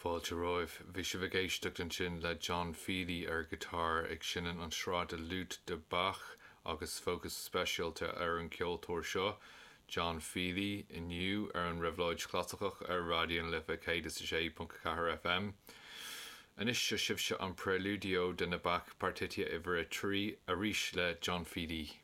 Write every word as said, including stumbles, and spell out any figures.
Fáilte romhaibh. Bhí sibh ag éisteacht ansin le John Feely ar guitar ag seinm an sraith de Lute de Bach agus fócas speisialta ar an ceoltóir seo, John Feely inniu ar an Réabhlóid Chlasaiceach ar Raidió na Life céad is a sé ponc ceathair FM. Anois seo sibhse an Preludio de na Bach Partita uimhir a trí arís le John Feely.